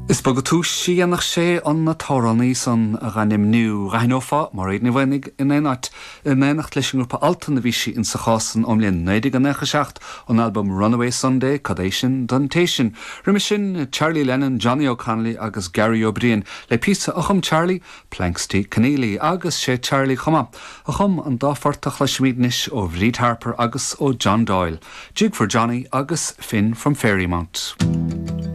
Is beag túis a dhéanfadh sé an t-amhránaí san a dh'ainmniú. Dh'aithneofá Mairéad Ní Mhaonaigh in aon áit. In éineacht leis an ngrúpa Altan a bhí sí insa chás san ón mbliain 1997, ón albam Runaway Sunday, Cad é sin don té sin? Roimhe sin, Charlie Lennon, Johnny O'Connolly agus Gary Ó Briain le píosa a chum Charlie, Planxty Keneally, agus sé Charlie chomh maith a chum an dá phort a chloisfimid anois ó Bhríd Harper agus ó John Doyle, Jig for Johnny agus Finn from Fairymount.